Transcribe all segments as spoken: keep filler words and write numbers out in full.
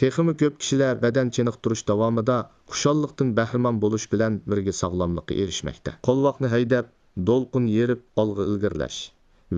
تېخىمۇ كۆپ كىشىلەر بەدەن چېنىقتۇرۇش داۋامىدا خۇشاللىقتىن بەھرىمەن بولۇش بىلەن بىرگە ساغلاملىققا ئېرىشمەكتە. قولۋاقنى ھەيدەپ، دولقۇن يېرىپ ئالغا ئىلگىرىلەش،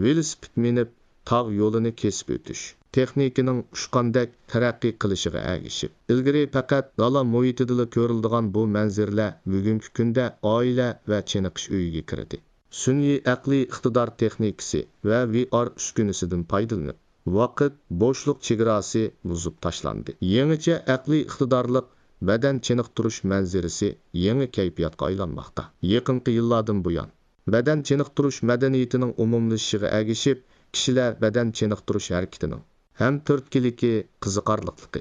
ۋېلىسىپىت مىنىپ، تاغ يولىنى كېسىپ ئۆتۈش تېخنىكىنىڭ ئۇچقاندەك تەرەققىي قىلىشىغا ئەگىشىپ، ئىلگىرى پەقەت دالا مۇھىتىدىلا كۆرۈلىدىغان بۇ مەنزىرىلەر بۈگۈنكى كۈندە ئائىلە ۋە چېنىقىش ئۆيىگە كىردى. سۈنئىي ئەقلىي ئىقتىدار تېخنىكىسى ۋە ۋى ئار ئۈسكۈنىسىدىن پايدىلىنىپ، ۋاقىت، بوشلۇق چېگراسى بۇزۇپ تاشلاندى. يېڭىچە ئەقلىي ئىقتىدارلىق بەدەن چېنىقتۇرۇش مەنزىرىسى يېڭى كەيپىياتقا ئايلانماقتا. يېقىنقى يىللاردىن بۇيان، بەدەن چېنىقتۇرۇش مەدەنىيىتىنىڭ ئومۇملىشىشىغا ئەگىشىپ، كىشىلەر بەدەن چېنىقتۇرۇش ھەرىكىتىنىڭ ھەم تۈرتكىلىكى، قىزىقارلىقلىقى،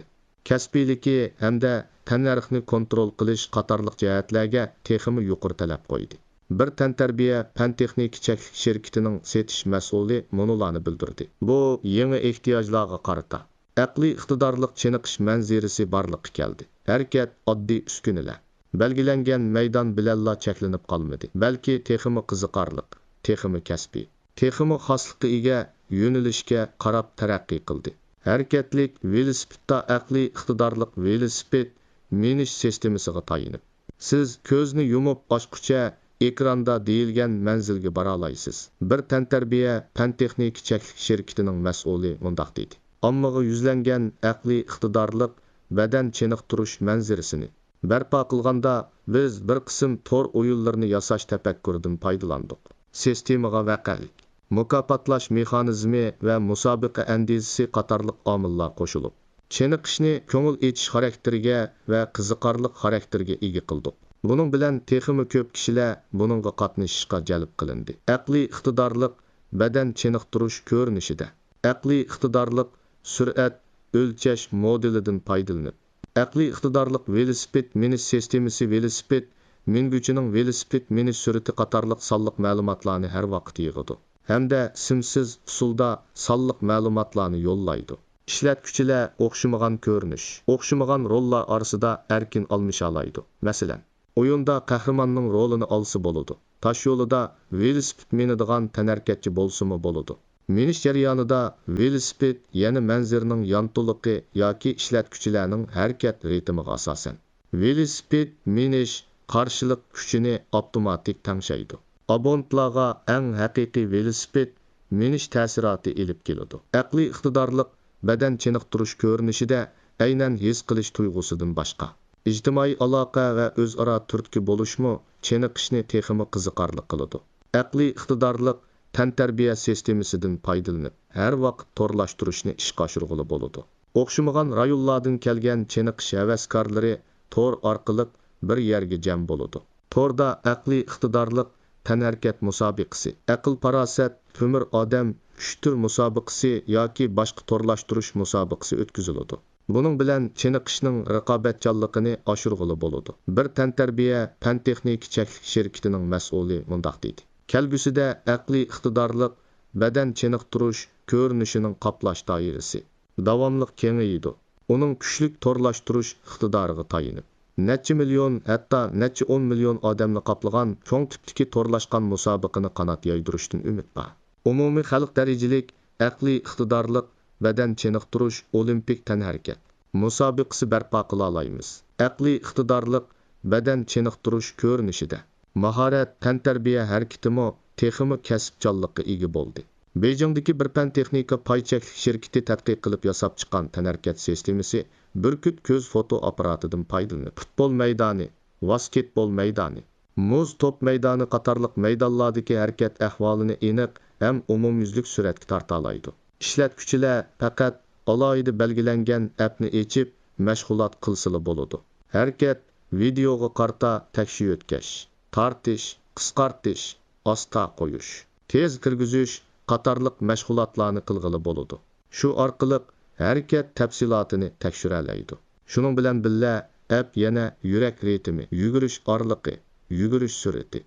كەسپىيلىكى ھەمدە تەننەرخنى كونترول قىلىش قاتارلىق جەھەتلەرگە تېخىمۇ يۇقىرى تەلەپ قويدى. بىر تەنتەربىيە پەن-تېخنىكا چەكلىك شىركىتىنىڭ سېتىش مەسئۇلى مۇنۇلارنى بىلدۈردى: بۇ يېڭى ئېھتىياجلارغا قارىتا ئەقلىي ئىقتىدارلىق چېنىقىش مەنزىرىسى بارلىققا كەلدى. ھەرىكەت، ئاددىي ئۈسكۈنىلەر، بەلگىلەنگەن مەيدان بىلەنلا چەكلىنىپ قالمىدى، بەلكى تېخىمۇ قىزىقارلىق، تېخىمۇ كەسپىي، تېخىمۇ خاسلىققا ئىگە يۆنىلىشكە قاراپ تەرەققىي قىلدى. ھەرىكەتلىك ۋېلىسىپىتتا ئەقلىي ئىقتىدارلىق ۋېلىسىپىت مىنىش سىستېمىسىغا تايىنىپ، سىز كۆزنى يۇمۇپ ئاچقۇچە ئېكراندا دېيىلگەن مەنزىلگە بارالايسىز. بىر تەنتەربىيە پەن-تېخنىكا چەكلىك شىركىتىنىڭ مەسئۇلى مۇنداق دېدى: ئاممىغا يۈزلەنگەن ئەقلىي ئىقتىدارلىق بەدەن چېنىقتۇرۇش مەنزىرىسىنى بەرپا قىلغاندا، بىز بىر قىسىم تور ئويۇنلىرىنى ياساش تەپەككۇرىدىن پايدىلاندۇق. سىستېمىغا ۋەقەلىك، مۇكاپاتلاش مېخانىزمى ۋە مۇسابىقە ئەندىزىسى قاتارلىق ئامىللار قوشۇلۇپ، چېنىقىشنى كۆڭۈل ئېچىش خاراكتېرىگە ۋە قىزىقارلىق خاراكتېرىگە ئىگە قىلدۇق. بۇنىڭ بىلەن تېخىمۇ كۆپ كىشىلەر بۇنىڭغا قاتنىشىشقا جەلپ قىلىندى. ئەقلىي ئىقتىدارلىق بەدەن چېنىقتۇرۇش كۆرۈنۈشىدە ئەقلىي ئىقتىدارلىق سۈرئەت ئۆلچەش مودېلىدىن پايدىلىنىپ، ئەقلىي ئىقتىدارلىق ۋېلىسىپىت مىنىش سىستېمىسى ۋېلىسىپىت مىنگۈچىنىڭ ۋېلىسىپىت مىنىش سۈرئىتى قاتارلىق سانلىق مەلۇماتلارنى ھەر ۋاقىت يىغىدۇ ھەمدە سىمسىز ئۇسۇلدا سانلىق مەلۇماتلارنى يوللايدۇ. ئىشلەتكۈچىلەر ئوخشىمىغان كۆرۈنۈش، ئوخشىمىغان روللار ئارىسىدا ئەركىن ئالمىشالايدۇ. مەسىلەن، ئويۇندا قەھرىماننىڭ رولىنى ئالسا بولىدۇ. تاشيولىدا ۋېلىسىپىت مىنىدىغان تەنھەرىكەتچى بولسىمۇ بولىدۇ. مىنىش جەريانىدا ۋېلىسىپىت يەنە مەنزىرىنىڭ يانتۇلۇقى ياكى ئىشلەتكۈچىلەرنىڭ ھەرىكەت رىتىمىغا ئاساسەن، ۋېلىسىپىت مىنىش قارشىلىق كۈچىنى ئاپتوماتىك تەڭشەيدۇ. ئابونېنتلارغا ئەڭ ھەقىقىي ۋېلىسىپىت مىنىش تەسىراتى ئېلىپ كېلىدۇ. ئەقلىي ئىقتىدارلىق بەدەن چېنىقتۇرۇش كۆرۈنۈشىدە ئەينەن ھېس قىلىش تۇيغۇسىدىن باشقا، ئىجتىمائىي ئالاقە ۋە ئۆزئارا تۈرتكە بولۇشمۇ چېنىقىشنى تېخىمۇ قىزىقارلىق قىلىدۇ. ئەقلىي ئىقتىدارلىق تەنتەربىيە سىستېمىسىدىن پايدىلىنىپ، ھەر ۋاقىت تورلاشتۇرۇشنى ئىشقا ئاشۇرغىلى بولىدۇ. ئوخشىمىغان رايونلاردىن كەلگەن چېنىقىش ھەۋەسكارلىرى تور ئارقىلىق بىر يەرگە جەم بولىدۇ. توردا ئەقلىي ئىقتىدارلىق تەنھەرىكەت مۇسابىقىسى، ئەقىل-پاراسەت، تۆمۈر ئادەم، ئۈچ تۈر مۇسابىقىسى ياكى باشقا تورلاشتۇرۇش مۇسابىقىسى ئۆتكۈزۈلىدۇ. بۇنىڭ بىلەن چېنىقىشنىڭ رىقابەتچانلىقىنى ئاشۇرغىلى بولىدۇ. بىر تەنتەربىيە پەن-تېخنىكا چەكلىك شىركىتىنىڭ مەسئۇلى مۇنداق دېدى: كەلگۈسىدە ئەقلىي ئىقتىدارلىق بەدەن چېنىقتۇرۇش كۆرۈنۈشىنىڭ قاپلاش دائىرىسى داۋاملىق كېڭىيىدۇ. ئۇنىڭ كۈچلۈك تورلاشتۇرۇش ئىقتىدارىغا تايىنىپ، نەچچە مىليون، ھەتتا نەچچە ئون مىليون ئادەمنى قاپلىغان چوڭ تىپتىكى تورلاشقان مۇسابىقىنى قانات يايدۇرۇشتىن ئۈمىد بار. ئومۇمىي خەلق دەرىجىلىك ئەقلىي ئىقتىدارلىق بەدەن چېنىقتۇرۇش ئولىمپىك تەنھەرىكەت مۇسابىقىسى بەرپا قىلالايمىز. ئەقلىي ئىقتىدارلىق بەدەن چېنىقتۇرۇش كۆرۈنۈشىدە ماھارەت، تەنتەربىيە ھەرىكىتىمۇ تېخىمۇ كەسىپچانلىققا ئىگە بولدى. بېيجىڭدىكى بىر پەن-تېخنىكا پاي چەكلىك شىركىتى تەتقىق قىلىپ ياساپ چىققان تەنھەرىكەت سىستېمىسى بۈركۈت كۆز فوتو ئاپپاراتىدىن پايدىلىنىپ، پۇتبول مەيدانى، ۋاسكېتبول مەيدانى، مۇز توپ مەيدانى قاتارلىق مەيدانلاردىكى ھەرىكەت ئەھۋالىنى ئېنىق ھەم ئومۇميۈزلۈك سۈرەتكە تارتالايدۇ. ئىشلەتكۈچىلەر پەقەت ئالاھىدە بەلگىلەنگەن ئەپنى ئېچىپ مەشغۇلات قىلسىلا بولىدۇ. ھەرىكەت ۋىدېئوغا قارىتا تەكشى يۆتكەش، تارتىش، قىسقارتىش، ئاستا قويۇش، تېز كىرگۈزۈش قاتارلىق مەشغۇلاتلارنى قىلغىلى بولىدۇ. شۇ ئارقىلىق ھەرىكەت تەپسىلاتىنى تەكشۈرەلەيدۇ. شۇنىڭ بىلەن بىللە، ئەپ يەنە يۈرەك رىتىمى، يۈگۈرۈش ئارىلىقى، يۈگۈرۈش سۈرئىتى،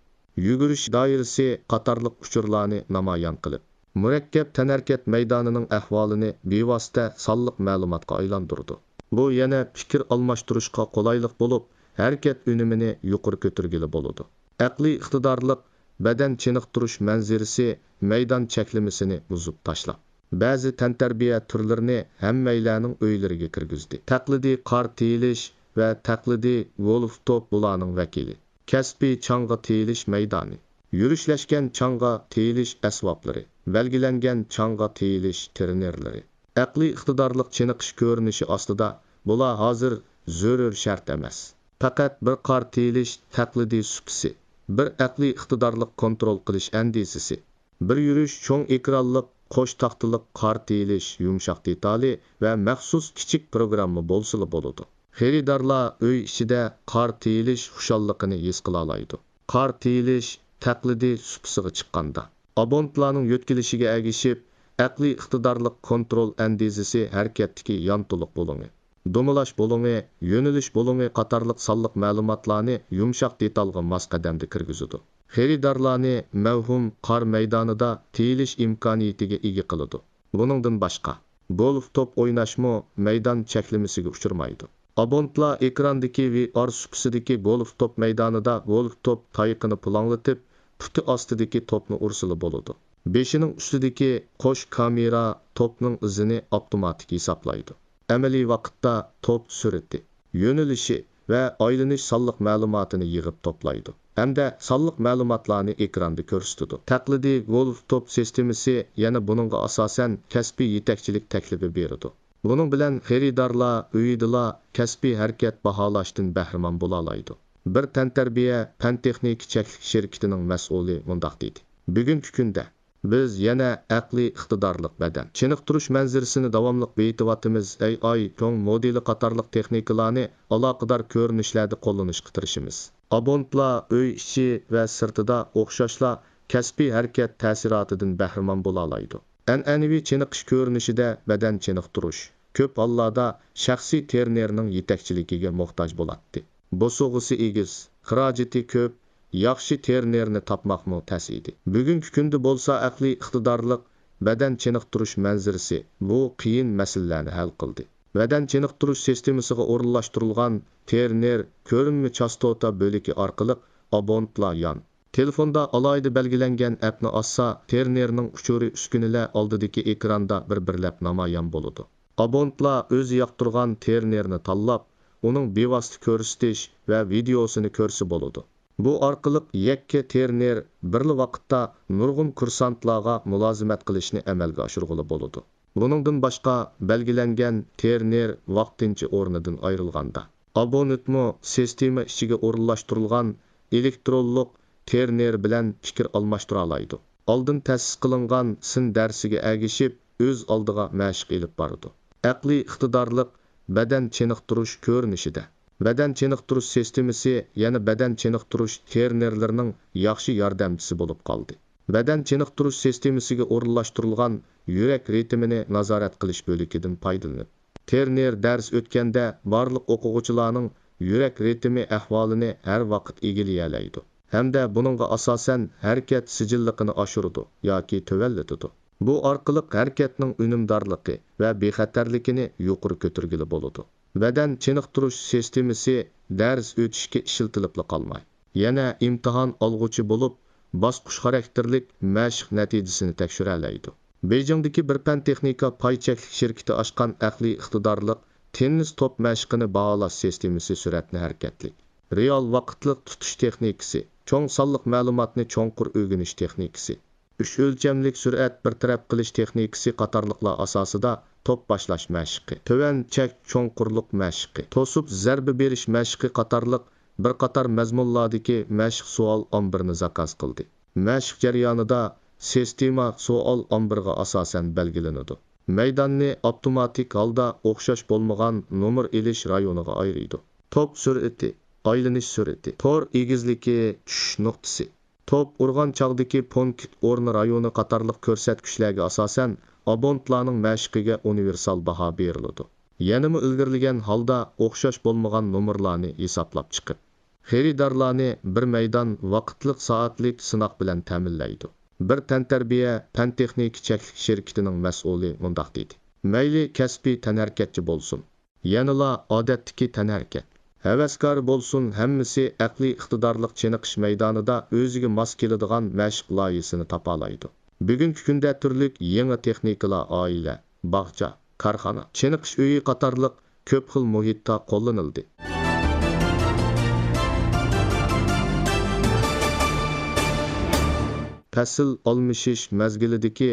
يۈگۈرۈش دائىرىسى قاتارلىق ئۇچۇرلارنى نامايان قىلىپ، مۇرەككەپ تەنھەرىكەت مەيدانىنىڭ ئەھۋالىنى بىۋاسىتە سانلىق مەلۇماتقا ئايلاندۇرىدۇ. بۇ يەنە پىكىر ئالماشتۇرۇشقا قولايلىق بولۇپ، ھەرىكەت ئۈنۈمىنى يۇقىرى كۆتۈرگىلى بولىدۇ. ئەقلىي ئىقتىدارلىق بەدەن چېنىقتۇرۇش مەنزىرىسى مەيدان چەكلىمىسىنى بۇزۇپ تاشلاپ، بەزى تەنتەربىيە تۈرلىرىنى ھەممەيلەننىڭ ئۆيلىرىگە كىرگۈزدى. تەقلىدىي قار تېيىلىش ۋە تەقلىدىي گولف توپ بۇلارنىڭ ۋەكىلى. كەسپىي چاڭغا تېيىلىش مەيدانى. يۈرۈشلەشكەن چاڭغا تېيىلىش ئەسۋابلىرى. بەلگىلەنگەن چاڭغا تېيىلىش تىرېنېرلىرى. ئەقلىي ئىقتىدارلىق چېنىقىش كۆرۈنۈشى ئاستىدا بۇلار ھازىر زۆرۈر شەرت ئەمەس. پەقەت بىر قار تېيىلىش تەقلىدىي سۇپىسى، بىر ئەقلىي ئىقتىدارلىق كونترول قىلىش ئەندىزىسى، بىر يۈرۈش چوڭ ئېكرانلىق قوش تاختىلىق قار تېيىلىش يۇمشاق دېتالى ۋە مەخسۇس كىچىك پروگرامما بولسىلا بولىدۇ. خېرىدارلار ئۆي ئىچىدە قار تېيىلىش خۇشاللىقىنى ھېس قىلالايدۇ. قار تېيىلىش تەقلىدىي سۇپىسىغا چىققاندا، ئابونتلارنىڭ يۆتكىلىشىگە ئەگىشىپ، ئەقلىي ئىقتىدارلىق كونترول ئەندىزىسى ھەرىكەتتىكى يانتۇلۇق بۇلۇڭى، دومىلاش بۇلۇڭى، يۆنىلىش بۇلۇڭى قاتارلىق سانلىق مەلۇماتلارنى يۇمشاق دېتالغا ماس قەدەمدە كىرگۈزىدۇ. خېرىدارلارنى مەۋھۇم قار مەيدانىدا تېيىلىش ئىمكانىيىتىگە ئىگە قىلىدۇ. بۇنىڭدىن باشقا، گولف توپ ئويناشمۇ مەيدان چەكلىمىسىگە ئۇچرىمايدۇ. ئابونتلار ئېكراندىكى ۋى ئار سۇپىسىدىكى گولف توپ مەيدانىدا گولف توپ تايىقىنى پۇلاڭلىتىپ، پۇتى ئاستىدىكى توپنى ئۇرسىلا بولىدۇ. بېشىنىڭ ئۈستىدىكى قوش كامېرا توپنىڭ ئىزىنى ئاپتوماتىك ھېسابلايدۇ. ئەمەلىي ۋاقىتتا توپ سۈرئىتى، يۆنىلىشى ۋە ئايلىنىش سانلىق مەلۇماتىنى يىغىپ توپلايدۇ ھەمدە سانلىق مەلۇماتلارنى ئېكراندا كۆرسىتىدۇ. تەقلىدىي گولف توپ سىستېمىسى يەنە بۇنىڭغا ئاساسەن كەسپىي يېتەكچىلىك تەكلىپى بېرىدۇ. بۇنىڭ بىلەن خېرىدارلار ئۆيىدىلا كەسپىي ھەرىكەت باھالاشتىن بەھرىمەن بولالايدۇ. بىر تەنتەربىيە پەن-تېخنىكا چەكلىك شىركىتىنىڭ مەسئۇلى مۇنداق دېدى: بۈگۈنكى كۈندە بىز يەنە ئەقلىي ئىقتىدارلىق بەدەن چېنىقتۇرۇش مەنزىرىسىنى داۋاملىق بېيىتىۋاتىمىز، ئەي ئاي چوڭ مودېلى قاتارلىق تېخنىكىلارنى ئالاقىدار كۆرۈنۈشلەردە قوللىنىشقا تىرىشىمىز. ئابونتلار ئۆي ئىچى ۋە سىرتىدا ئوخشاشلا كەسپىي ھەرىكەت تەسىراتىدىن بەھرىمەن بولالايدۇ. ئەنئەنىۋى چېنىقىش كۆرۈنۈشىدە بەدەن چېنىقتۇرۇش كۆپ ھاللاردا شەخسىي تېرنېرنىڭ يېتەكچىلىكىگە موھتاج بولاتتى. بوسۇغىسى ئېگىز، خىراجىتى كۆپ، ياخشى تېرنېرنى تاپماقمۇ تەس ئىدى. بۈگۈنكى كۈندە بولسا ئەقلىي ئىقتىدارلىق بەدەن چېنىقتۇرۇش مەنزىرىسى بۇ قىيىن مەسىلىلەرنى ھەل قىلدى. بەدەن چېنىقتۇرۇش سىستېمىسىغا ئورۇنلاشتۇرۇلغان تېرنېر كۆرۈنمە چاستوتا بۆلىكى ئارقىلىق ئابونتلار يان تېلېفوندا ئالاھىدە بەلگىلەنگەن ئەپنى ئاچسا، تېرنېرنىڭ ئۇچۇرى ئۈسكۈنىلەر ئالدىدىكى ئېكراندا بىر-بىرلەپ نامايان بولىدۇ. ئابونتلار ئۆزى ياقتۇرغان تېرنېرنى تاللاپ، ئۇنىڭ بىۋاسىتە كۆرسىتىش ۋە ۋىدېئوسىنى كۆرسە بولىدۇ. بۇ ئارقىلىق يەككە تېرنېر بىرلا ۋاقىتتا نۇرغۇن كۇرسانتلارغا مۇلازىمەت قىلىشنى ئەمەلگە ئاشۇرغىلى بولىدۇ. بۇنىڭدىن باشقا، بەلگىلەنگەن تېرنېر ۋاقتىنچە ئورنىدىن ئايرىلغاندا، ئابونېنتمۇ سىستېما ئىچىگە ئورۇنلاشتۇرۇلغان ئېلېكترونلۇق تېرنېر بىلەن پىكىر ئالماشتۇرالايدۇ. ئالدىن تەسىس قىلىنغان سىن دەرسىگە ئەگىشىپ، ئۆز ئالدىغا مەشىق ئېلىپ بارىدۇ. ئەقلىي ئىقتىدارلىق بەدەن چېنىقتۇرۇش كۆرۈنۈشىدە، بەدەن چېنىقتۇرۇش سىستېمىسى يەنە بەدەن چېنىقتۇرۇش تېرنېرلىرىنىڭ ياخشى ياردەمچىسى بولۇپ قالدى. بەدەن چېنىقتۇرۇش سىستېمىسىگە ئورۇنلاشتۇرۇلغان يۈرەك رىتىمىنى نازارەت قىلىش بۆلىكىدىن پايدىلىنىپ، تېرنېر دەرس ئۆتكەندە بارلىق ئوقۇغۇچىلارنىڭ يۈرەك رىتىمى ئەھۋالىنى ھەر ۋاقىت ئىگىلىيەلەيدۇ ھەمدە بۇنىڭغا ئاساسەن ھەرىكەت سىجىللىقىنى ئاشۇرىدۇ ياكى تۆۋەنلىتىدۇ. بۇ ئارقىلىق ھەرىكەتنىڭ ئۈنۈمدارلىقى ۋە بىخەتەرلىكىنى يۇقىرى كۆتۈرگىلى بولىدۇ. بەدەن چېنىقتۇرۇش سىستېمىسى دەرس ئۆتۈشكە ئىشلىتىلىپلا قالماي، يەنە ئىمتىھان ئالغۇچى بولۇپ، باسقۇچ خاراكتېرلىك مەشىق نەتىجىسىنى تەكشۈرەلەيدۇ. بېيجىڭدىكى بىر پەن-تېخنىكا پاي چەكلىك شىركىتى ئاچقان ئەقلىي ئىقتىدارلىق تېننىس توپ مەشىقىنى باھالاش سىستېمىسى سۈرئەتنى ھەرىكەتلىك، رېئال ۋاقىتلىق تۇتۇش تېخنىكىسى، چوڭ سانلىق مەلۇماتنى چوڭقۇر ئۆگىنىش تېخنىكىسى، ئۈچ ئۆلچەملىك سۈرئەت بىر تەرەپ قىلىش تېخنىكىسى قاتارلىقلار ئاساسىدا توپ باشلاش مەشىقى، تۆۋەن چەك چوڭقۇرلۇق مەشىقى، توسۇپ زەربە بېرىش مەشىقى قاتارلىق بىر قاتار مەزمۇنلاردىكى مەشىق سوئال ئامبىرىنى زاكاز قىلدى. مەشىق جەريانىدا سىستېما سوئال ئامبىرىغا ئاساسەن بەلگىلىنىدۇ. مەيداننى ئاپتوماتىك ھالدا ئوخشاش بولمىغان نومۇر ئېلىش رايونىغا ئايرىيدۇ. توپ سۈرئىتى، ئايلىنىش سۈرئىتى، تور ئېگىزلىكى، چۈشۈش نۇقتىسى، توپ ئۇرغان چاغدىكى پونكىت ئورنى رايونى قاتارلىق كۆرسەتكۈچلەرگە ئاساسەن، ئابونتلارنىڭ مەشىقىگە ئۇنىۋېرسال باھا بېرىلىدۇ. يەنىمۇ ئىلگىرىلىگەن ھالدا ئوخشاش بولمىغان نومۇرلارنى ھېسابلاپ چىقىپ، خېرىدارلارنى بىر مەيدان ۋاقىتلىق سائەتلىك سىناق بىلەن تەمىنلەيدۇ. بىر تەنتەربىيە پەن-تېخنىكا چەكلىك شىركىتىنىڭ مەسئۇلى مۇنداق دېدى: مەيلى كەسپىي تەنھەرىكەتچى بولسۇن، يەنىلا ئادەتتىكى تەنھەرىكەت ھەۋەسكارى بولسۇن، ھەممىسى ئەقلىي ئىقتىدارلىق چېنىقىش مەيدانىدا ئۆزىگە ماس كېلىدىغان مەشىق لايىھىسىنى تاپالايدۇ. بۈگۈنكى كۈندە تۈرلۈك يېڭى تېخنىكىلار ئائىلە، باغچا، كارخانا، چېنىقىش ئۆيى قاتارلىق كۆپ خىل مۇھىتتا قوللىنىلدى. پەسىل ئالمىشىش مەزگىلىدىكى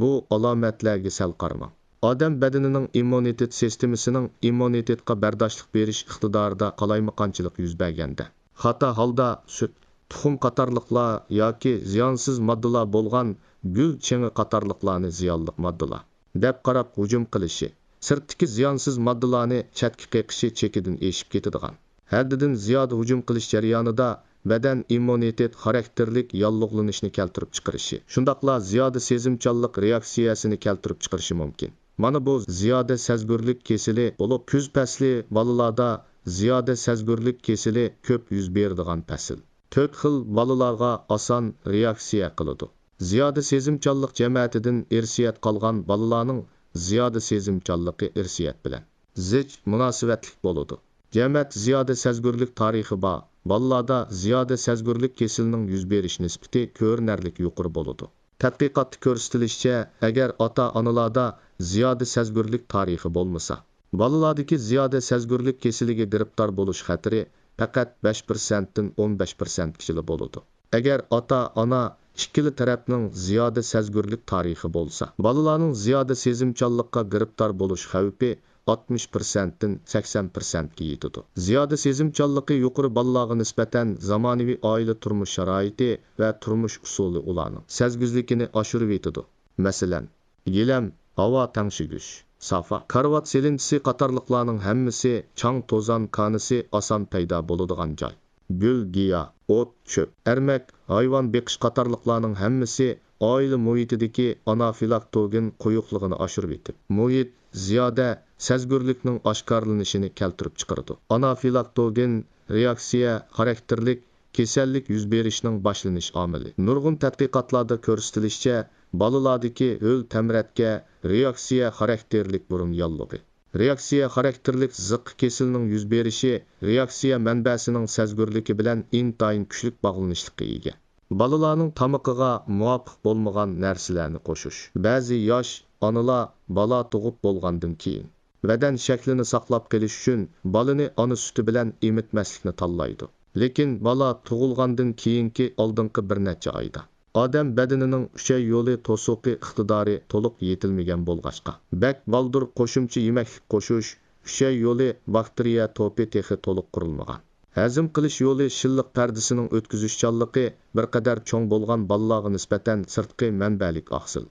بۇ ئالامەتلەرگە سەل قارىماڭ. ئادەم بەدىنىنىڭ ئىممۇنىتېت سىستېمىسىنىڭ ئىممۇنىتېتقا بەرداشلىق بېرىش ئىقتىدارىدا قالايمىقانچىلىق يۈز بەرگەندە، خاتا ھالدا سۈت، تۇخۇم قاتارلىقلار ياكى زىيانسىز ماددىلار بولغان گۈل چېڭى قاتارلىقلارنى زىيانلىق ماددىلار دەپ قاراپ ھۇجۇم قىلىشى، سىرتتىكى زىيانسىز ماددىلارنى چەتكە قېقىشى چېكىدىن ئېشىپ كېتىدىغان، ھەددىدىن زىيادە ھۇجۇم قىلىش جەريانىدا بەدەن ئىممۇنىتېت خاراكتېرلىك ياللۇغلىنىشنى كەلتۈرۈپ چىقىرىشى، شۇنداقلا زىيادە سېزىمچانلىق رېئاكسىيەسىنى كەلتۈرۈپ چىقىرىشى مۇمكىن. مانا بۇ زىيادە سەزگۈرلۈك كېسىلى بولۇپ، كۈز پەسلى بالىلاردا زىيادە سەزگۈرلۈك كېسىلى كۆپ يۈز بېرىدىغان پەسىل. تۆت خىل بالىلارغا ئاسان رېئاكسىيە قىلىدۇ. زىيادە سېزىمچانلىق جەمەتىدىن ئىرسىيەت قالغان بالىلارنىڭ زىيادە سېزىمچانلىقى ئىرسىيەت بىلەن زىچ مۇناسىۋەتلىك بولىدۇ. جەمەت زىيادە سەزگۈرلۈك تارىخى بار بالىلاردا زىيادە سەزگۈرلۈك كېسىلىنىڭ يۈز بېرىش نىسبىتى كۆرۈنەرلىك يۇقىرى بولىدۇ. تەتقىقاتتا كۆرسىتىلىشىچە، ئەگەر ئاتا-ئانىلاردا زىيادە سەزگۈرلۈك تارىخى بولمىسا، بالىلاردىكى زىيادە سەزگۈرلۈك كېسىلىگە گىرىپتار بولۇش خەتىرى پەقەت بەش پىرسەنتتىن ئون بەش پىرسەنتكىچىلا بولىدۇ. ئەگەر ئاتا-ئانا ئىككىلا تەرەپنىڭ زىيادە سەزگۈرلۈك تارىخى بولسا، بالىلارنىڭ زىيادە سېزىمچانلىققا گىرىپتار بولۇش خەۋپى ئاتمىش پىرسەنتتىن سەكسەن پىرسەنتكە يېتىدۇ. زىيادە سېزىمچانلىقى يۇقىرى بالىلارغا نىسبەتەن زامانىۋى ئائىلە تۇرمۇش شارائىتى ۋە تۇرمۇش ئۇسۇلى ئۇلارنىڭ سەزگۈزلۈكىنى ئاشۇرۇۋېتىدۇ. مەسىلەن، گىلەم، ھاۋا تەڭشىگۈچ، سافا، كارىۋات سېلىنچىسى قاتارلىقلارنىڭ ھەممىسى چاڭ-توزان كانىسى ئاسان پەيدا بولىدىغان جاي. گۈل-گىياھ، ئوت-چۆپ، ئەرمەك، ھايۋان بېقىش قاتارلىقلارنىڭ ھەممىسى ئائىلە مۇھىتىدىكى ئانافىلاكتوگېن قويۇقلۇقىنى ئاشۇرۇۋېتىپ، مۇھىت زىيادە سەزگۈرلۈكنىڭ ئاشكارىلىنىشىنى كەلتۈرۈپ چىقىرىدۇ. ئانافىلاكتوگېن رېئاكسىيە خاراكتېرلىك كېسەللىك يۈز بېرىشنىڭ باشلىنىش ئامىلى. نۇرغۇن تەتقىقاتلاردا كۆرسىتىلىشىچە، بالىلاردىكى ھۆل تەمرەتكە رېئاكسىيە خاراكتېرلىك بۇرۇن ياللۇغى، رېئاكسىيە خاراكتېرلىك زىققا كېسىلىنىڭ يۈز بېرىشى رېئاكسىيە مەنبەسىنىڭ سەزگۈرلۈكى بىلەن ئىنتايىن كۈچلۈك باغلىنىشلىققا ئىگە. بالىلارنىڭ تامىقىغا مۇۋاپىق بولمىغان نەرسىلەرنى قوشۇش. بەزى ياش ئانىلار بالا تۇغۇپ بولغاندىن كېيىن، بەدەن شەكلىنى ساقلاپ قېلىش ئۈچۈن بالىنى ئانا سۈتى بىلەن ئېمىتمەسلىكنى تاللايدۇ. لېكىن بالا تۇغۇلغاندىن كېيىنكى ئالدىنقى بىر نەچچە ئايدا ئادەم بەدىنىنىڭ ئۈچەي يولى توسۇقى ئىقتىدارى تولۇق يېتىلمىگەن بولغاچقا، بەك بالدۇر قوشۇمچە يېمەكلىك قوشۇش، ئۈچەي يولى باكتېرىيە توپى تېخى تولۇق قۇرۇلمىغان. ھەزىم قىلىش يولى شىللىق پەردىسىنىڭ ئۆتكۈزۈشچانلىقى بىر قەدەر چوڭ بولغان بالىلارغا نىسبەتەن سىرتقى مەنبەلىك ئاقسىل.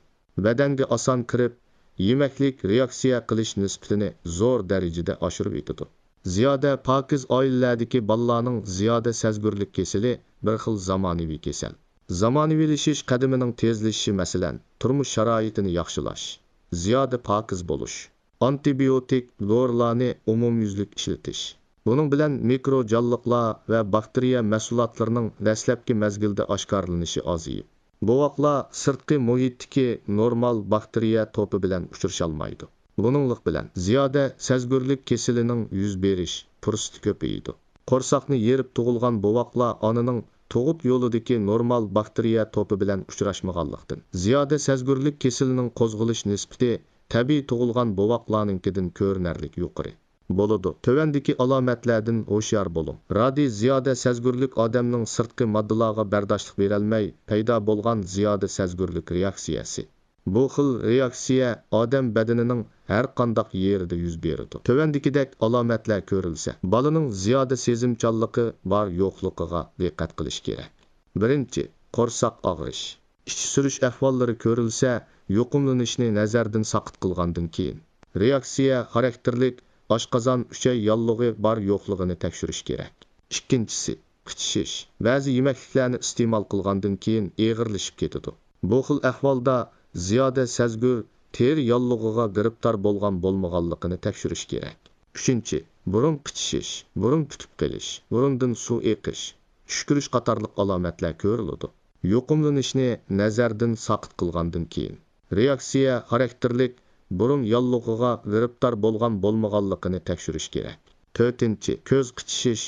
بەدەنگە ئاسان كىرىپ، يېمەكلىك رېئاكسىيە قىلىش نىسبىتىنى زور دەرىجىدە ئاشۇرۇۋېتىدۇ. زىيادە پاكىز ئائىلىلەردىكى بالىلارنىڭ زىيادە سەزگۈرلۈك كېسىلى بىر خىل زامانىۋى كېسەل. زامانىۋىلىشىش قەدىمىنىڭ تېزلىشىشى، مەسىلەن، تۇرمۇش شارائىتىنى ياخشىلاش، زىيادە پاكىز بولۇش، ئانتىبىيوتىك دورىلارنى ئومۇميۈزلۈك ئىشلىتىش، بۇنىڭ بىلەن مىكرو جانلىقلار ۋە باكتېرىيە مەھسۇلاتلىرىنىڭ دەسلەپكى مەزگىلدە ئاشكارىلىنىشى ئازىيىپ، بوۋاقلار سىرتقى مۇھىتتىكى نورمال باكتېرىيە توپى بىلەن ئۇچرىشالمايدۇ. بۇنىڭلىق بىلەن، زىيادە سەزگۈرلۈك كېسىلىنىڭ يۈز بېرىش پۇرسىتى كۆپىيىدۇ. قورساقنى يېرىپ تۇغۇلغان بوۋاقلار ئانىنىڭ تۇغۇت يولىدىكى نورمال باكتېرىيە توپى بىلەن ئۇچراشمىغانلىقتىن، زىيادە سەزگۈرلۈك كېسىلىنىڭ قوزغىلىش نىسبىتى تەبىئىي تۇغۇلغان بوۋاقلارنىڭكىدىن كۆرۈنەرلىك يۇقىرى بولىدۇ. تۆۋەندىكى ئالامەتلەردىن ھوشيار بولۇڭ. رادىي زىيادە سەزگۈرلۈك ئادەمنىڭ سىرتقى ماددىلارغا بەرداشلىق بېرەلمەي پەيدا بولغان زىيادە سەزگۈرلۈك رېئاكسىيەسى. بۇ خىل رېئاكسىيە ئادەم بەدىنىنىڭ ھەر قانداق يېرىدە يۈز بېرىدۇ. تۆۋەندىكىدەك ئالامەتلەر كۆرۈلسە، بالىنىڭ زىيادە سېزىمچانلىقى بار يوقلۇقىغا دىققەت قىلىش كېرەك. بىرىنچى، قورساق ئاغرىش. ئىچى سۈرۈش ئەھۋاللىرى كۆرۈلسە، يۇقۇملىنىشنى نەزەردىن ساقىت قىلغاندىن كېيىن، رېئاكسىيە خاراكتېرلىك ئاشقازان ئۈچەي ياللۇغى بار يوقلۇقىنى تەكشۈرۈش كېرەك. ئىككىنچىسى، قىچىشىش. بەزى يېمەكلىكلەرنى ئىستېمال قىلغاندىن كېيىن ئېغىرلىشىپ كېتىدۇ. بۇ خىل ئەھۋالدا زىيادە سەزگۈر تېرە ياللۇغىغا گىرىپتار بولغان بولمىغانلىقىنى تەكشۈرۈش كېرەك. ئۈچىنچى، بۇرۇن قىچىشىش، بۇرۇن پۈتۈپ قېلىش، بۇرۇندىن سۇ ئېقىش، چۈشكۈرۈش قاتارلىق ئالامەتلەر كۆرۈلىدۇ. يۇقۇملىنىشنى نەزەردىن ساقىت قىلغاندىن كېيىن، رېئاكسىيە خاراكتېرلىك بۇرۇن ياللۇغىغا گىرىپتار بولغان بولمىغانلىقىنى تەكشۈرۈش كېرەك. تۆتىنچى، كۆز قىچىشىش،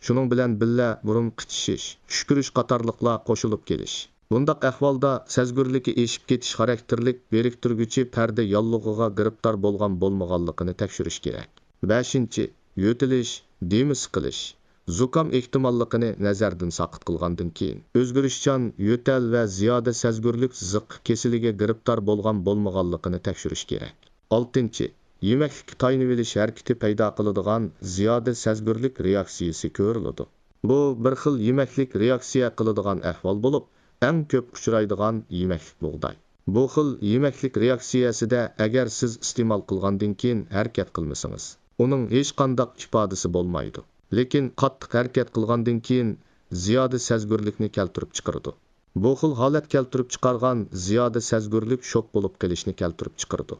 شۇنىڭ بىلەن بىللە بۇرۇن قىچىشىش، چۈشكۈرۈش قاتارلىقلار قوشۇلۇپ كېلىش. بۇنداق ئەھۋالدا سەزگۈرلۈكى ئېشىپ كېتىش خاراكتېرلىك بىرىكتۈرگۈچى پەردە ياللۇغىغا گىرىپتار بولغان بولمىغانلىقىنى تەكشۈرۈش كېرەك. بەشىنچى، يۆتىلىش، دېمى سىقىلىش، زۇكام ئېھتىماللىقىنى نەزەردىن ساقىت قىلغاندىن كېيىن، ئۆزگىرىشچان يۆتەل ۋە زىيادە سەزگۈرلۈك زىققا كېسىلىگە گىرىپتار بولغان بولمىغانلىقىنى تەكشۈرۈش كېرەك. ئالتىنچى، يېمەكلىككە تايىنىۋېلىش ھەرىكىتى پەيدا قىلىدىغان زىيادە سەزگۈرلۈك رېئاكسىيىسى كۆرۈلىدۇ. بۇ بىر خىل يېمەكلىك رېئاكسىيە قىلىدىغان ئەھۋال بولۇپ، ئەڭ كۆپ ئۇچرايدىغان يېمەكلىك بۇغداي. بۇ خىل يېمەكلىك رېئاكسىيەسىدە ئەگەر سىز ئىستېمال قىلغاندىن كېيىن ھەرىكەت قىلمىسىڭىز، ئۇنىڭ ھېچقانداق ئىپادىسى بولمايدۇ. لېكىن قاتتىق ھەرىكەت قىلغاندىن كېيىن زىيادە سەزگۈرلۈكنى كەلتۈرۈپ چىقىرىدۇ. بۇ خىل ھالەت كەلتۈرۈپ چىقارغان زىيادە سەزگۈرلۈك شوك بولۇپ قېلىشنى كەلتۈرۈپ چىقىرىدۇ.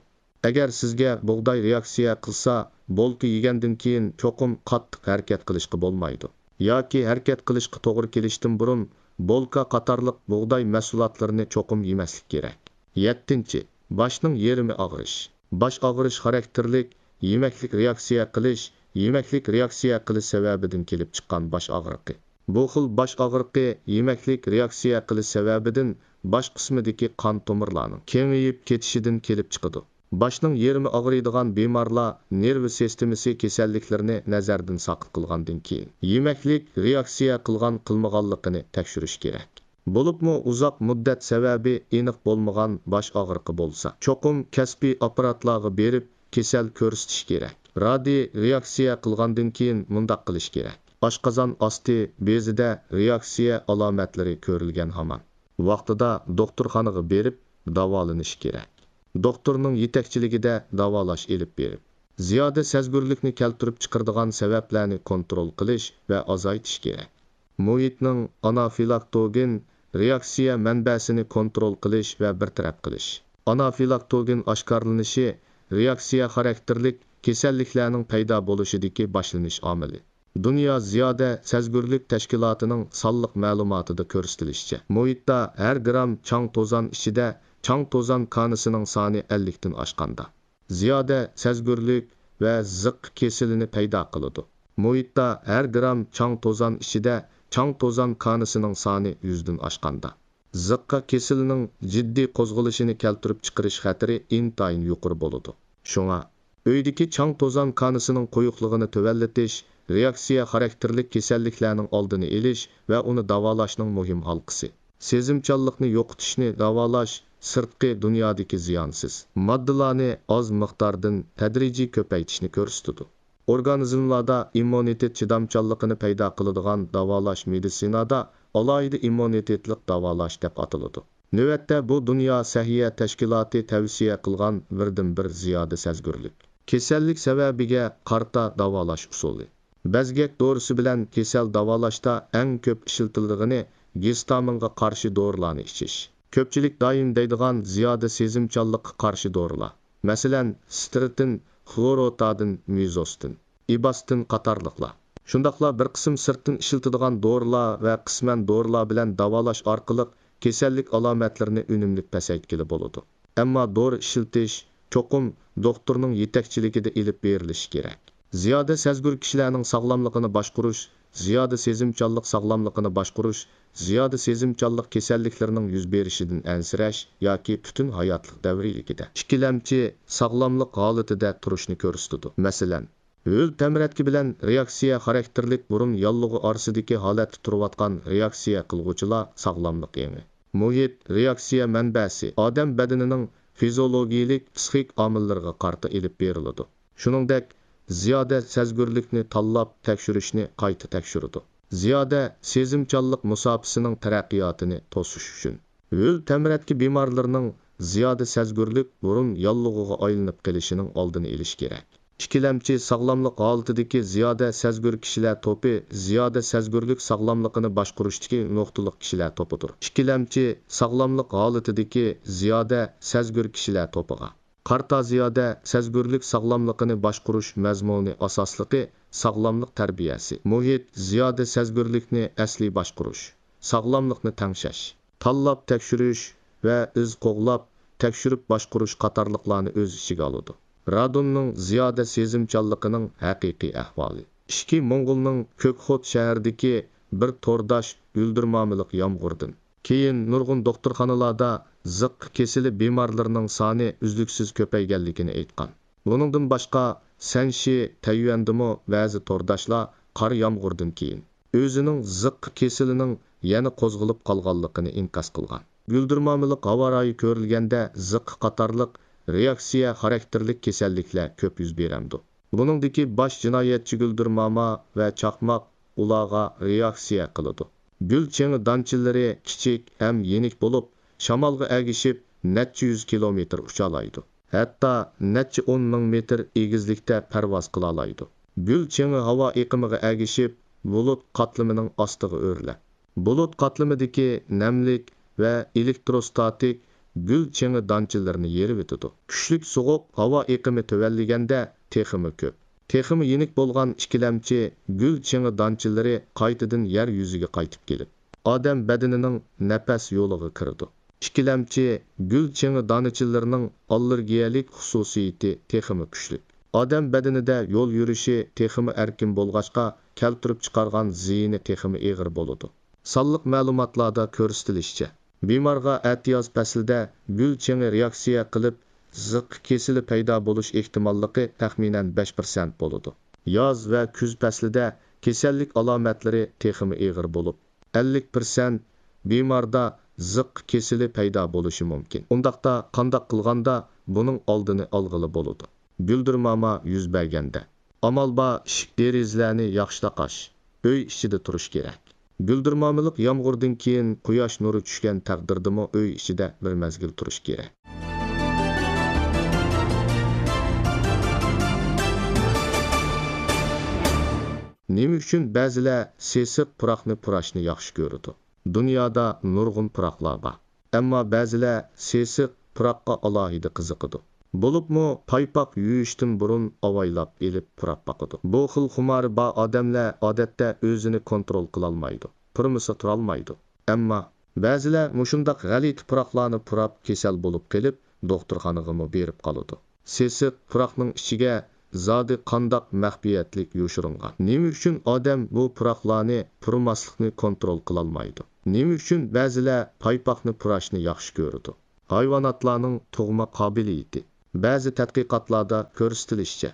ئەگەر سىزگە بۇغداي رېئاكسىيە قىلسا، بولكا يېگەندىن كېيىن چوقۇم قاتتىق ھەرىكەت قىلىشقا بولمايدۇ. ياكى ھەرىكەت قىلىشقا توغرا كېلىشتىن بۇرۇن بولكا قاتارلىق بۇغداي مەھسۇلاتلىرىنى چوقۇم يېمەسلىك كېرەك. يەتتىنچى، باشنىڭ يېرىمى ئاغرىش. باش ئاغرىش خاراكتېرلىك يېمەكلىك رېئاكسىيە قىلىش، يېمەكلىك رېئاكسىيە قىلىش سەۋەبىدىن كېلىپ چىققان باش ئاغرىقى. بۇ خىل باش ئاغرىقى يېمەكلىك رېئاكسىيە قىلىش سەۋەبىدىن باش قىسمىدىكى قان تومۇرلارنىڭ كېڭىيىپ كېتىشىدىن كېلىپ چىقىدۇ. باشنىڭ يېرىمى ئاغرىيدىغان بىمارلار نېرۋا سىستېمىسى كېسەللىكلىرىنى نەزەردىن ساقىت قىلغاندىن كېيىن، يېمەكلىك رېئاكسىيە قىلغان قىلمىغانلىقىنى تەكشۈرۈش كېرەك. بولۇپمۇ ئۇزاق مۇددەت سەۋەبى ئېنىق بولمىغان باش ئاغرىقى بولسا، چوقۇم كەسپىي ئاپپاراتلارغا بېرىپ كېسەل كۆرسىتىش كېرەك. رادىي رېئاكسىيە قىلغاندىن كېيىن مۇنداق قىلىش كېرەك. ئاشقازان ئاستى بېزىدە رېئاكسىيە ئالامەتلىرى كۆرۈلگەن ھامان، ۋاقتىدا دوختۇرخانىغا بېرىپ داۋالىنىش كېرەك. دوختۇرنىڭ يېتەكچىلىكىدە داۋالاش ئېلىپ بېرىپ، زىيادە سەزگۈرلۈكنى كەلتۈرۈپ چىقىرىدىغان سەۋەبلەرنى كونترول قىلىش ۋە ئازايتىش كېرەك. مۇھىتنىڭ ئانافىلاكتوگېن رېئاكسىيە مەنبەسىنى كونترول قىلىش ۋە بىر تەرەپ قىلىش. ئانافىلاكتوگېن ئاشكارىلىنىشى رېئاكسىيە خاراكتېرلىك كېسەللىكلەرنىڭ پەيدا بولۇشىدىكى باشلىنىش ئامىلى. دۇنيا زىيادە سەزگۈرلۈك تەشكىلاتىنىڭ سانلىق مەلۇماتىدا كۆرسىتىلىشىچە، مۇھىتتا ھەر گرام چاڭ توزان ئىچىدە چاڭ توزان كانىسىنىڭ سانى ئەللىكتىن ئاشقاندا، زىيادە سەزگۈرلۈك ۋە زىققا كېسىلىنى پەيدا قىلىدۇ. مۇھىتتا ھەر گرام چاڭ توزان ئىچىدە چاڭ توزان كانىسىنىڭ سانى يۈزدىن ئاشقاندا، زىققا كېسىلىنىڭ جىددىي قوزغىلىشىنى كەلتۈرۈپ چىقىرىش خەتىرى ئىنتايىن يۇقىرى بولىدۇ. شۇڭا، ئۆيدىكى چاڭ توزان كانىسىنىڭ قويۇقلۇقىنى تۆۋەنلىتىش رېئاكسىيە خاراكتېرلىك كېسەللىكلەرنىڭ ئالدىنى ئېلىش ۋە ئۇنى داۋالاشنىڭ مۇھىم ھالقىسى. سېزىمچانلىقنى يوقىتىشنى داۋالاش سىرتقى دۇنيادىكى زىيانسىز ماددىلارنى ئاز مىقداردىن تەدرىجىي كۆپەيتىشنى كۆرسىتىدۇ. ئورگانىزملاردا ئىممۇنىتېت چىدامچانلىقىنى پەيدا قىلىدىغان داۋالاش مېدىتسىنادا ئالاھىدە ئىممۇنىتېتلىق داۋالاش دەپ ئاتىلىدۇ. نۆۋەتتە بۇ دۇنيا سەھىيە تەشكىلاتى تەۋسىيە قىلغان بىردىنبىر زىيادە سەزگۈرلۈك. كېسەللىك سەۋەبىگە قارىتا داۋالاش ئۇسۇلى. بەزگەك دورىسى بىلەن كېسەل داۋالاشتا ئەڭ كۆپ ئىشلىتىلىدىغىنى گىستامىنغا قارشى دورىلارنى ئىچىش. كۆپچىلىك دائىم دەيدىغان زىيادە سېزىمچانلىققا قارشى دورىلار. مەسىلەن، ستىرتىن، خلوروتادىن، مىزوستىن، ئىباستىن قاتارلىقلار. شۇنداقلا بىر قىسىم سىرتتىن ئىشلىتىدىغان دورىلار ۋە قىسمەن دورىلار بىلەن داۋالاش ئارقىلىق كېسەللىك ئالامەتلىرىنى ئۈنۈملۈك پەسەيتكىلى بولىدۇ. ئەمما دورا ئىشلىتىش چوقۇم دوختۇرنىڭ يېتەكچىلىكىدە ئېلىپ بېرىلىشى كېرەك. زىيادە سەزگۈر كىشىلەرنىڭ ساغلاملىقىنى باشقۇرۇش، زىيادە سېزىمچانلىق ساغلاملىقىنى باشقۇرۇش، زىيادە سېزىمچانلىق كېسەللىكلىرىنىڭ يۈز بېرىشىدىن ئەنسىرەش ياكى پۈتۈن ھاياتلىق دەۋرىيلىكىدە ئىككىلەمچى ساغلاملىق ھالىتىدە تۇرۇشنى كۆرسىتىدۇ. مەسىلەن، ھۆل تەمرەتكە بىلەن رېئاكسىيە خاراكتېرلىك بۇرۇن ياللۇغى ئارىسىدىكى ھالەتتە تۇرۇۋاتقان رېئاكسىيە قىلغۇچىلار ساغلاملىق ئېڭى. مۇھىت رېئاكسىيە مەنبەسى ئادەم بەدىنىنىڭ فىزىئولوگىيىلىك، پىسخىك ئامىللىرىغا قارىتا ئېلىپ بېرىلىدۇ. شۇنىڭدەك، زىيادە سەزگۈرلۈكنى تاللاپ تەكشۈرۈشنى قايتا تەكشۈرىدۇ. زىيادە سېزىمچانلىق مۇساپىسىنىڭ تەرەققىياتىنى توسۇش ئۈچۈن. ھۆل تەمرەتكە بىمارلىرىنىڭ زىيادە سەزگۈرلۈك بۇرۇن ياللۇغىغا ئايلىنىپ قېلىشىنىڭ ئالدىنى ئېلىش كېرەك. ئىككىلەمچى ساغلاملىق ھالىتىدىكى زىيادە سەزگۈر كىشىلەر توپى زىيادە سەزگۈرلۈك ساغلاملىقىنى باشقۇرۇشتىكى نۇقتىلىق كىشىلەر توپىدۇر. ئىككىلەمچى ساغلاملىق ھالىتىدىكى زىيادە سەزگۈر كىشىلەر توپىغا قارىتا زىيادە سەزگۈرلۈك ساغلاملىقىنى باشقۇرۇش مەزمۇنى ئاساسلىقى ساغلاملىق تەربىيەسى، مۇھىت زىيادە سەزگۈرلۈكنى ئەسلىي باشقۇرۇش، ساغلاملىقنى تەڭشەش، تاللاپ تەكشۈرۈش ۋە ئىز قوغلاپ تەكشۈرۈپ باشقۇرۇش قاتارلىقلارنى ئۆز ئىچىگە ئالىدۇ. رادوننىڭ زىيادە سېزىمچانلىقىنىڭ ھەقىقىي ئەھۋالى. ئىچكى موڭغۇلنىڭ كۆكخوت شەھىرىدىكى بىر تورداش ئۈلدۈرمامىلىق يامغۇردىن كېيىن نۇرغۇن دوختۇرخانىلاردا زىققا كېسىلى بىمارلىرىنىڭ سانى ئۈزلۈكسىز كۆپەيگەنلىكىنى ئېيتقان. بۇنىڭدىن باشقا، سەنشى، تەييۈەندىمۇ بەزى تورداشلار قار يامغۇردىن كېيىن ئۆزىنىڭ زىققا كېسىلىنىڭ يەنە قوزغىلىپ قالغانلىقىنى ئىنكاس قىلغان. گۈلدۈرمامىلىق ھاۋا رايى كۆرۈلگەندە زىققا قاتارلىق رېئاكسىيە خاراكتېرلىك كېسەللىكلەر كۆپ يۈز بېرەمدۇ؟ بۇنىڭدىكى باش جىنايەتچى گۈلدۈرماما ۋە چاقماق ئۇلارغا رېئاكسىيە قىلىدۇ. گۈل چېڭى دانچىلىرى كىچىك ھەم يېنىك بولۇپ، شامالغا ئەگىشىپ نەچچە يۈز كىلومېتىر ئۇچالايدۇ. ھەتتا نەچچە ئون مىڭ مېتىر ئېگىزلىكتە پەرۋاز قىلالايدۇ. گۈل چېڭى ھاۋا ئېقىمىغا ئەگىشىپ، بۇلۇت قاتلىمىنىڭ ئاستىغا ئۆرلەپ، بۇلۇت قاتلىمىدىكى نەملىك ۋە ئېلېكتروستاتىك گۈل چېڭى دانچىلىرىنى يېرىۋېتىدۇ. كۈچلۈك سوغۇق ھاۋا ئېقىمى تۆۋەنلىگەندە تېخىمۇ كۆپ، تېخىمۇ يېنىك بولغان ئىككىلەمچى گۈل چېڭى دانچىلىرى قايتىدىن يەر يۈزىگە قايتىپ كېلىپ، ئادەم بەدىنىنىڭ نەپەس يولىغا كىرىدۇ. ئىككىلەمچى گۈل چېڭى دانىچىلىرىنىڭ ئاللېرگىيەلىك خۇسۇسىيىتى تېخىمۇ كۈچلۈك. ئادەم بەدىنىدە يول يۈرۈشى تېخىمۇ ئەركىن بولغاچقا، كەلتۈرۈپ چىقارغان زىيىنى تېخىمۇ ئېغىر بولىدۇ. سانلىق مەلۇماتلاردا كۆرسىتىلىشىچە، بىمارغا ئەتىياز پەسلىدە گۈل چېڭى رېئاكسىيە قىلىپ، زىققا كېسىلى پەيدا بولۇش ئېھتىماللىقى تەخمىنەن بەش پىرسەنت بولىدۇ. ياز ۋە كۈز پەسلىدە كېسەللىك ئالامەتلىرى تېخىمۇ ئېغىر بولۇپ، ئەللىك پىرسەنت بىماردا زىققا كېسىلى پەيدا بولۇشى مۇمكىن. ئۇنداقتا قانداق قىلغاندا بۇنىڭ ئالدىنى ئالغىلى بولىدۇ؟ گۈلدۈرماما يۈز بەرگەندە، ئامال بار ئىشىك دېرىزىلەرنى ياخشىلاپ ئاچ، ئۆي ئىچىدە تۇرۇش كېرەك. گۈلدۈرمامىلىق يامغۇردىن كېيىن قۇياش نۇرى چۈشكەن تەقدىردىمۇ ئۆي ئىچىدە بىر مەزگىل تۇرۇش كېرەك. نېمە ئۈچۈن بەزىلەر سېسىق پۇراقنى پۇراشنى ياخشى كۆرىدۇ؟ دۇنيادا نۇرغۇن پۇراقلار بار. ئەمما بەزىلەر سېسىق پۇراققا ئالاھىدە قىزىقىدۇ. بولۇپمۇ پايپاق يۇيۇشتىن بۇرۇن ئاۋايلاپ ئېلىپ پۇراپ باقىدۇ. بۇ خىل خۇمارى بار ئادەملەر ئادەتتە ئۆزىنى كونترول قىلالمايدۇ، پۇرىمىسا تۇرالمايدۇ. ئەمما بەزىلەر مۇشۇنداق غەلىتە پۇراقلارنى پۇراپ كېسەل بولۇپ قېلىپ، دوختۇرخانىغىمۇ بېرىپ قالىدۇ. سېسىق پۇراقنىڭ ئىچىگە زادى قانداق مەخپىيەتلىك يوشۇرۇنغان؟ نېمە ئۈچۈن ئادەم بۇ پۇراقلارنى پۇرىماسلىقنى كونترول قىلالمايدۇ؟ نېمە ئۈچۈن بەزىلەر پايپاقنى پۇراشنى ياخشى كۆرىدۇ؟ ھايۋاناتلارنىڭ تۇغما قابىلىيىتى. بەزى تەتقىقاتلاردا كۆرسىتىلىشىچە،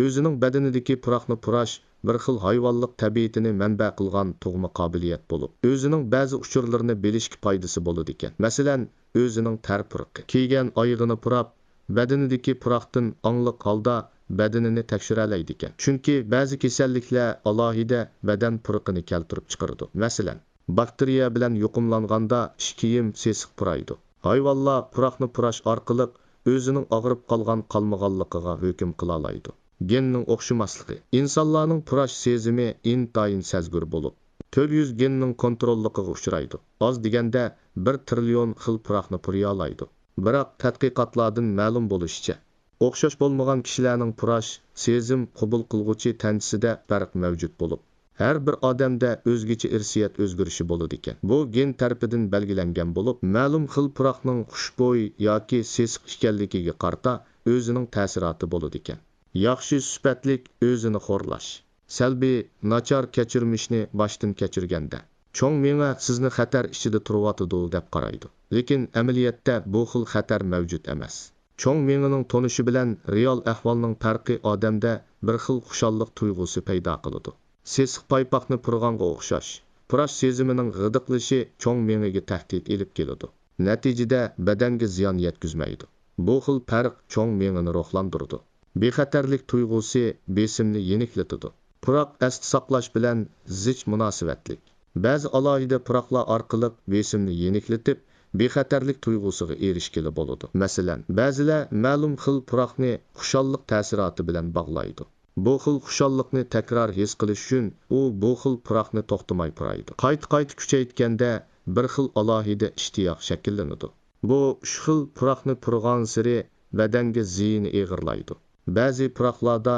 ئۆزىنىڭ بەدىنىدىكى پۇراقنى پۇراش بىر خىل ھايۋانلىق تەبىئىتىنى مەنبە قىلغان تۇغما قابىلىيەت بولۇپ، ئۆزىنىڭ بەزى ئۇچۇرلىرىنى بىلىشكە پايدىسى بولىدىكەن. مەسىلەن، ئۆزىنىڭ تەر پۇرىقى، كىيگەن ئايىغىنى پۇراپ، بەدىنىدىكى پۇراقتىن ئاڭلىق ھالدا بەدىنىنى تەكشۈرەلەيدىكەن. چۈنكى بەزى كېسەللىكلەر ئالاھىدە بەدەن پۇرىقىنى كەلتۈرۈپ چىقىرىدۇ. مەسىلەن، باكتېرىيە بىلەن يۇقۇملانغاندا ئىچ كىيىم سېسىق پۇرايدۇ. ھايۋانلار پۇراقنى پۇراش ئارقىلىق ئۆزىنىڭ ئاغرىپ قالغان قالمىغانلىقىغا ھۆكۈم قىلالايدۇ. گېننىڭ ئوخشىماسلىقى. ئىنسانلارنىڭ پۇراش سېزىمى ئىنتايىن سەزگۈر بولۇپ، تۆت يۈز گېننىڭ كونتروللۇقىغا ئۇچرايدۇ. ئاز دېگەندە بىر تىرىليون خىل پۇراقنى پۇرىيالايدۇ. بىراق تەتقىقاتلاردىن مەلۇم بولۇشىچە، ئوخشاش بولمىغان كىشىلەرنىڭ پۇراش سېزىم قوبۇل قىلغۇچى تەنچىسىدە پەرق مەۋجۇت بولۇپ، ھەر بىر ئادەمدە ئۆزگىچە ئىرسىيەت ئۆزگىرىشى بولىدىكەن. بۇ گېن تەرىپىدىن بەلگىلەنگەن بولۇپ، مەلۇم خىل پۇراقنىڭ خۇشبۇي ياكى سېسىق ئىكەنلىكىگە قارىتا ئۆزىنىڭ تەسىراتى بولىدىكەن. ياخشى سۈپەتلىك ئۆزىنى خورلاش. سەلبىي، ناچار كەچۈرمىشنى باشتىن كەچۈرگەندە، چوڭ مېڭە سىزنى خەتەر ئىچىدە تۇرۇۋاتىدۇ دەپ قارايدۇ. لېكىن ئەمەلىيەتتە بۇ خىل خەتەر مەۋجۇت ئەمەس. چوڭ مېڭىنىڭ تونۇشى بىلەن رېئال ئەھۋالنىڭ پەرقى ئادەمدە بىر خىل خۇشاللىق تۇيغۇسى پەيدا قىلىدۇ. سېسىق پايپاقنى پۇرىغانغا ئوخشاش. پۇراش سېزىمىنىڭ غىدىقلىشى چوڭ مېڭىگە تەھدىت ئېلىپ كېلىدۇ. نەتىجىدە بەدەنگە زىيان يەتكۈزمەيدۇ. بۇ خىل پەرق چوڭ مېڭىنى روھلاندۇرىدۇ. بىخەتەرلىك تۇيغۇسى بېسىمنى يېنىكلىتىدۇ. پۇراق ئەستە ساقلاش بىلەن زىچ مۇناسىۋەتلىك. بەزى ئالاھىدە پۇراقلار ئارقىلىق بېسىمنى يېنىكلىتىپ، بىخەتەرلىك تۇيغۇسىغا ئېرىشكىلى بولىدۇ. مەسىلەن، بەزىلەر مەلۇم خىل پۇراقنى خۇشاللىق تەسىراتى بىلەن باغلايدۇ. بۇ خىل خۇشاللىقنى تەكرار ھېس قىلىش ئۈچۈن ئۇ بۇ خىل پۇراقنى توختىماي پۇرايدۇ. قايتا-قايتا كۈچەيتكەندە بىر خىل ئالاھىدە ئىشتىياق شەكىللىنىدۇ. بۇ ئۈچ خىل پۇراقنى پۇرىغانسېرى بەدەنگە زىيىنى ئېغىرلايدۇ. بەزى پۇراقلاردا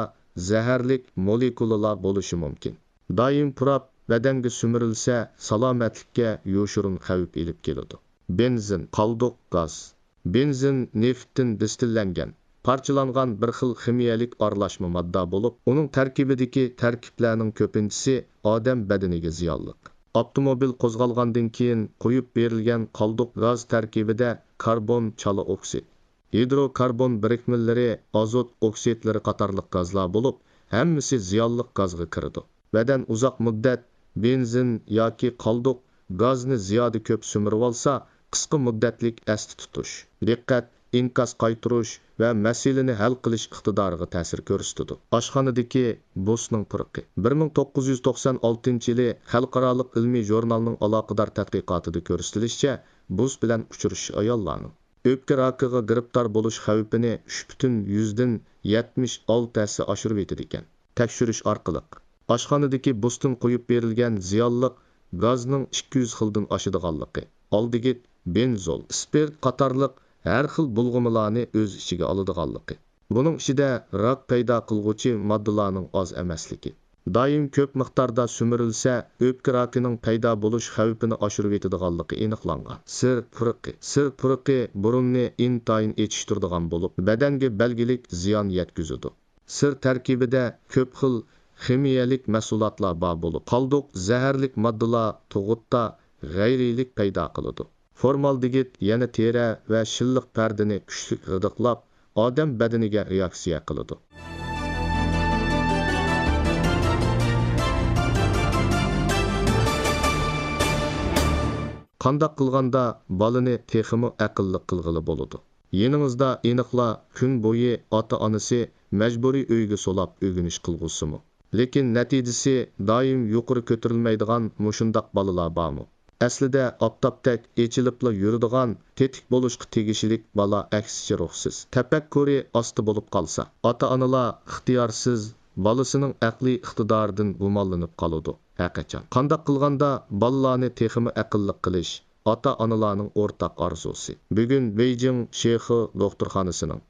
زەھەرلىك مولېكۇلىلار بولۇشى مۇمكىن. دائىم پۇراپ بەدەنگە سۈمۈرۈلسە، سالامەتلىككە يوشۇرۇن خەۋپ ئېلىپ كېلىدۇ. بېنزىن، قالدۇق گاز. بېنزىن نېفىتتىن دىستىللەنگەن، پارچىلانغان بىر خىل خىمىيەلىك ئارىلاشما ماددا بولۇپ، ئۇنىڭ تەركىبىدىكى تەركىبلەرنىڭ كۆپىنچىسى ئادەم بەدىنىگە زىيانلىق. ئاپتوموبىل قوزغالغاندىن كېيىن قويۇپ بېرىلگەن قالدۇق گاز تەركىبىدە كاربون، چالا ئوكسىد، ھىدروكاربون بىرىكمىلىرى، ئازوت ئوكسىدلىرى قاتارلىق گازلار بولۇپ، ھەممىسى زىيانلىق گازغا كىرىدۇ. بەدەن ئۇزاق مۇددەت بېنزىن ياكى قالدۇق گازنى زىيادە كۆپ سۈمۈرۈۋالسا، قىسقا مۇددەتلىك ئەستە تۇتۇش، دىققەت، ئىنكاس قايتۇرۇش ۋە مەسىلىنى ھەل قىلىش ئىقتىدارىغا تەسىر كۆرسىتىدۇ. ئاشخانىدىكى بۇسنىڭ پۇرىقى. بىر مىڭ توققۇز يۈز توقسان ئالتىنچى يىلى خەلقئارالىق ئىلمىي ژۇرنالنىڭ ئالاقىدار تەتقىقاتىدا كۆرسىتىلىشىچە، بۇس بىلەن ئۇچرىشىش ئاياللارنىڭ ئۆپكە راكىغا گىرىپتار بولۇش خەۋپىنى ئۈچ پۈتۈن يۈزدىن يەتمىش ئالتە ھەسسە ئاشۇرۇۋېتىدىكەن. تەكشۈرۈش ئارقىلىق، ئاشخانىدىكى بۇستىن قويۇپ بېرىلگەن زىيانلىق گازنىڭ ئىككى يۈز خىلدىن ئاشىدىغانلىقى، ئالدىگىت، بېنزول، سپىرت قاتارلىق ھەر خىل بۇلغىمىلارنى ئۆز ئىچىگە ئالىدىغانلىقى، بۇنىڭ ئىچىدە راك پەيدا قىلغۇچى ماددىلارنىڭ ئاز ئەمەسلىكى، دائىم كۆپ مىقداردا سۈمۈرۈلسە، ئۆپكە راكىنىڭ پەيدا بولۇش خەۋپىنى ئاشۇرۇۋېتىدىغانلىقى ئېنىقلانغان. سىر پۇرىقى. سىر پۇرىقى بۇرۇننى ئىنتايىن ئېچىشتۇرىدىغان بولۇپ، بەدەنگە بەلگىلىك زىيان يەتكۈزىدۇ. سىر تەركىبىدە كۆپ خىل خىمىيەلىك مەھسۇلاتلار بار بولۇپ، قالدۇق زەھەرلىك ماددىلار تۇغۇتتا غەيرىيلىك پەيدا قىلىدۇ. فورمالدېگىد يەنە تېرە ۋە شىللىق پەردىنى كۈچلۈك غىدىقلاپ، ئادەم بەدىنىگە رېئاكسىيە قىلىدۇ. قانداق قىلغاندا بالىنى تېخىمۇ ئەقىللىق قىلغىلى بولىدۇ؟ يېنىڭىزدا ئېنىقلا كۈن بويى ئاتا-ئانىسى مەجبۇرىي ئۆيگە سولاپ ئۆگىنىش قىلغۇزسىمۇ؟ لېكىن نەتىجىسى دائىم يۇقىرى كۆتۈرۈلمەيدىغان مۇشۇنداق بالىلار بارمۇ؟ ئەسلىدە ئاپتاپتەك ئېچىلىپلا يۈرىدىغان، تېتىك بولۇشقا تېگىشلىك بالا ئەكسىچە روھسىز، تەپەككۇرى ئاستا بولۇپ قالسا، ئاتا-ئانىلار ئىختىيارسىز بالىسىنىڭ ئەقلىي ئىقتىدارىدىن گۇمانلىنىپ قالىدۇ. ھەرقاچان قانداق قىلغاندا بالىلارنى تېخىمۇ ئەقىللىق قىلىش، ئاتا-ئانىلارنىڭ ئورتاق ئارزۇسى. بۈگۈن بېيجىڭ شېخې دوختۇرخانىسىنىڭ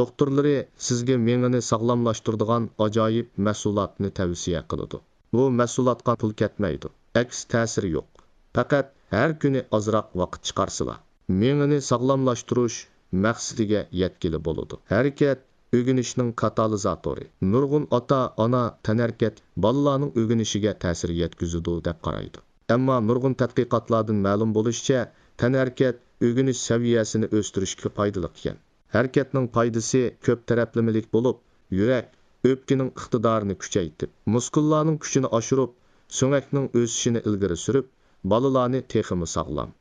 دوختۇرلىرى سىزگە مېڭىنى ساغلاملاشتۇرىدىغان ئاجايىپ مەھسۇلاتنى تەۋسىيە قىلىدۇ. بۇ مەھسۇلاتقا پۇل كەتمەيدۇ، ئەكس تەسىرى يوق. پەقەت ھەر كۈنى ئازراق ۋاقىت چىقارسىلا. مېڭىنى ساغلاملاشتۇرۇش مەقسىتىگە يەتكىلى بولىدۇ. ھەرىكەت ئۆگىنىشنىڭ كاتالىزاتورى. نۇرغۇن ئاتا-ئانا تەنھەرىكەت بالىلارنىڭ ئۆگىنىشىگە تەسىر يەتكۈزىدۇ دەپ قارايدۇ. ئەمما نۇرغۇن تەتقىقاتلاردىن مەلۇم بولۇشىچە، تەنھەرىكەت ئۆگىنىش سەۋىيەسىنى ئۆستۈرۈشكە پايدىلىق ئىكەن. ھەرىكەتنىڭ پايدىسى كۆپ تەرەپلىمىلىك بولۇپ، يۈرەك، ئۆپكىنىڭ ئىقتىدارىنى كۈچەيتىپ، مۇسكۇللارنىڭ كۈچىنى ئاشۇرۇپ، سۆڭەكنىڭ ئۆسۈشىنى ئىلگىرى سۈرۈپ، بالىلارنى تېخىمۇ ساغلام،